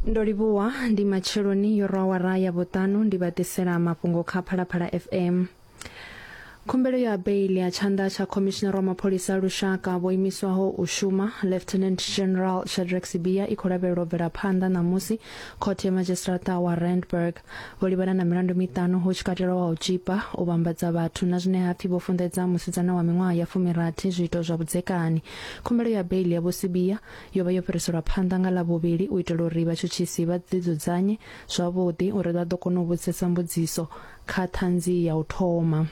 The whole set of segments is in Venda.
Ndo livhuwa ndi matsheloni yo rwa awara ya vhuṱanu ndi vha ḓisela mafhungo kha Phalaphala FM. Khumbelo ya beiḽi ya tshanḓa tsha khomishinari wa mapholisa a lushaka vho imiswaho u shuma Lieutenant General Shadrack Sibiya i khou lavhelelwa u bvela phanḓa ṋamusi khothe ya madzhisiṱiraṱa wa Randburg. Vho livhana na milandu miṱanu hu tshi katelwa wa u tzhipa, u vhambadza vhathu na zwine ha pfi vho funḓedza musidzana wa miṅwaha ya fumirathi zwiito zwa vhudzekani. Khumbelo ya beiḽi ya Vho Sibiya yo vha yo fhiriselwa phanḓa nga Ḽavhuvhili u itela uri vhatshutshisi vha ḓidzudzanye zwavhuḓi uri vha ḓo kona u vhudzisesa mbudziso kha ṱhanzi ya u thoma.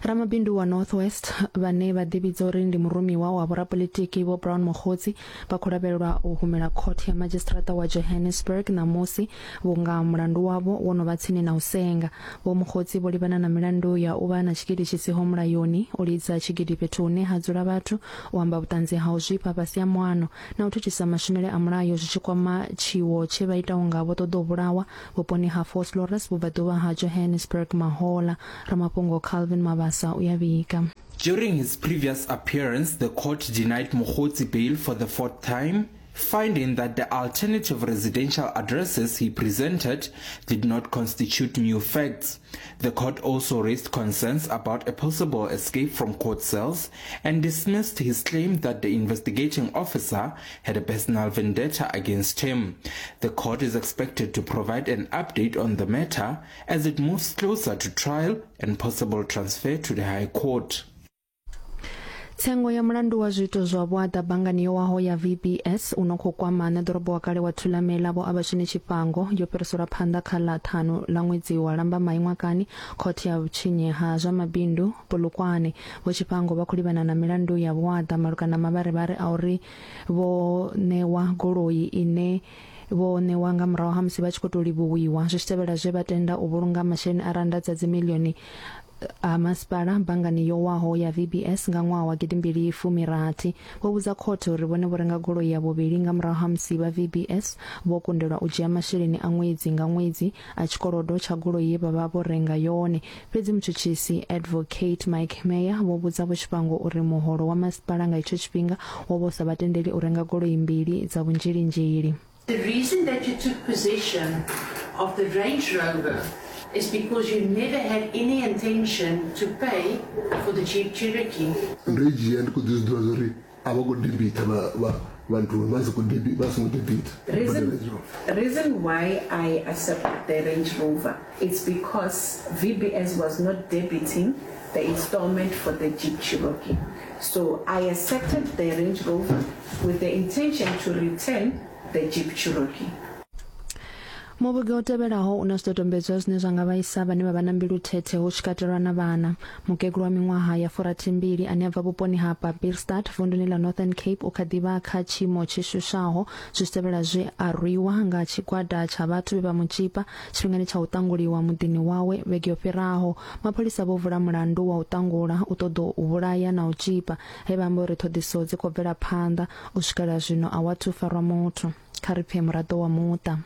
Ramabindu wa North West vhane vha ḓivhidza uri ndi murumiwa wa vhorapolitiki Vho Brown Mogotsi vha khou lavhelelwa u humela khothe ya madzhisiṱiraṱa wa Johannesburg ṋamusi vhunga mulandu wavho wo no vha tsini na u senga. Vho Mogotsi vho livhana na milandu ya u vha na tshigidi tshi siho mulayoni, u lidza tshigidi fhethu hune ha dzula vhathu, u amba vhuṱanzi ha u zwifha fhasi ha muano na u thithisa mashumele a mulayo zwi tshi kwama tshiwo tshe vha ita unga vho ṱoḓa u vhulawa vhuponi ha Vosloorus vhubvaḓuvha ha Johannesburg mahola. Ramafhungo Calvin Mabasa u ya vhiga. During his previous appearance, the court denied Mogotsi bail for the fourth time, finding that the alternative residential addresses he presented did not constitute new facts. The court also raised concerns about a possible escape from court cells and dismissed his claim that the investigating officer had a personal vendetta against him. The court is expected to provide an update on the matter as it moves closer to trial and possible transfer to the High Court. Tsengo ya mulandu wa zwiito zwa vhuaḓa banngani yo waho ya VBS u no khou kwama ṋeḓorobo wa kale wa Thulamela Vho Abashini Tshifhango yo fhiriselwa phanḓa kha ḽa ṱhanu ḽa ṅwedzi wa Lambamai ṅwakani khothe ya vhutshinyi ha zwa mabindu Polokwane. Vho Tshifhango vha khou livhana na milandu ya vhuaḓa malugana na mavharivhari a uri vho ṋewa goloi ine vho ṋewa nga murahu ha musi vha tshi khou tou livhuwiwa zwi tshi tevhela zwe vha tenda u vhulunga masheleni a rannda dza dzimiḽioni ha masipala banngani yo waho ya VBS nga ṅwaha wa gidimbili fumi rathi. Vho vhudza khothe uri vhone vho renga goloi ya vhuvhili nga murahu ha musi vha VBS vho kundelwa u dzhia masheleni a ṅwedzi nga ṅwedzi a tshikolodo tsha goloi ye vha vha vho renga yone. Fhedzi mutshutshisi Advocate Mike Meyer vho vhudza Vho Tshifhango uri muholo wa masipala nga itsho tshifhinga wo vha u sa vha tendeli u renga goloi mbili dza vhunzhilinzhili. The reason that you took possession of the Range Rover is because you never had any intention to pay for the Jeep Cherokee. Ndo i dzhia ndi khou ḓi zwi ḓivha zwa uri a vha khou debita vha vha vha nthuni vha si khou debi vha songo debita Reason, reason why I accepted the Range Rover it's because VBS was not debiting the installment for the Jeep Cherokee. So I accepted the Range Rover with the intention to return the Jeep Cherokee. Muvhigo u tevhelaho u na zwidodombedzwa zwine zwa nga vhaisa vhane vha vha na mbilu thethe hu tshi katelwa na vhana. Mukegulu wa miṅwaha ya furathimbili ane a bva vhuponi ha Pampierstad vunduni ḽa Northern Cape u kha ḓi vha kha tshiimo tshi shushaho zwi tshi tevhela zwe a rwiwa nga tshigwada tsha vhathu vhe vha mu tzhipa tshifhingani tsha u ṱanguliwa muḓini wawe vhege yo fhiraho. Mapholisa vho vula mulandu wa u ṱangula, u ṱoḓou u vhulaya na u tzhipa he vha amba uri ṱhoḓisiso dzi khou bvela phanḓa. U swikela zwino a hu athu farwa muthu. Kha ri pfe muraḓo wa muṱa.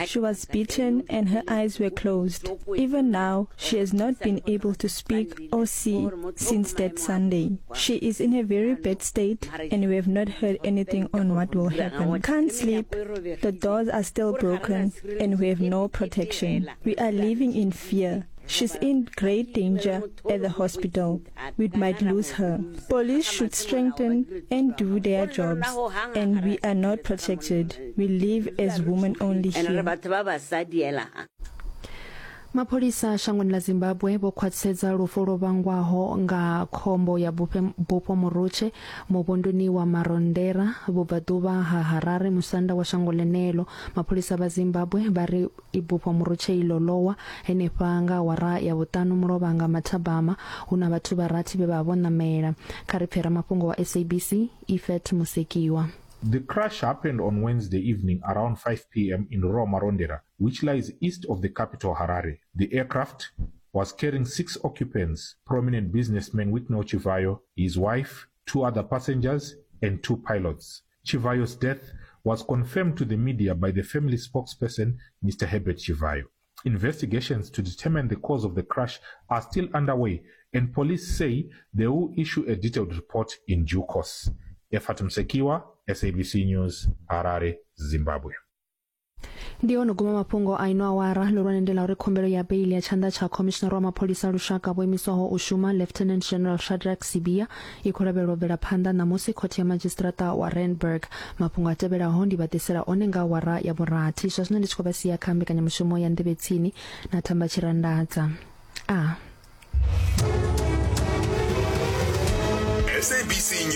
She was beaten and her eyes were closed. Even now, she has not been able to speak or see since that Sunday. She is in a very bad state and we have not heard anything on what will happen. Can't sleep, the doors are still broken and we have no protection. We are living in fear. She's in great danger at the hospital. We might lose her. Police should strengthen and do their jobs. And we are not protected. We live as women only here. Mapholisa shangoni ḽa Zimbabwe vho khwaṱhisedza lufu lwo vhangwaho nga khombo ya bufho Murutshe muvhunduni wa Marondera vhubvaḓuvha ha Harare musanda wa shango ḽeneḽo. Mapholisa vha Zimbabwe vha ri Ibufho Murutshe iḽo ḽo wa henefha nga awara ya vhuṱanu mulovha nga mathabama hu na vhathu vha rathi vhe vha vha vho ṋamela. Kha ri pfe ramafhungo wa SABC, Ifet Musekiwa. The crash happened on Wednesday evening around 5 p.m. in Roma which lies east of the capital Harare. The aircraft was carrying six occupants, prominent businessman Wicknell Chivayo, his wife, two other passengers, and two pilots. Chivayo's death was confirmed to the media by the family spokesperson, Mr. Herbert Chivayo. Investigations to determine the cause of the crash are still underway, and police say they will issue a detailed report in due course. Ephat Msekiwa, SABC News, Harare, Zimbabwe. Ndi ono guma mafhungo a ino awara. Ḽihulwane ndi ḽa uri khumbelo ya beili ya tshanḓa tsha khomishinara wa mapholisa a lushaka vho imiswaho u shuma Lieutenant General Shadrack Sibiya i khou lavhelelwa u bvela phanḓa ṋamusi khothe ya madzhisiṱiraṱa wa Randburg. Mafhungo a tevhelaho ndi vha ḓisela one nga awara ya vhurathi. Zwa zwino ndi tshi khou vha sia kha mbekanyamushumo ya Nḓevhe Tsini na Thamba Tshirandadza. A. SABC News.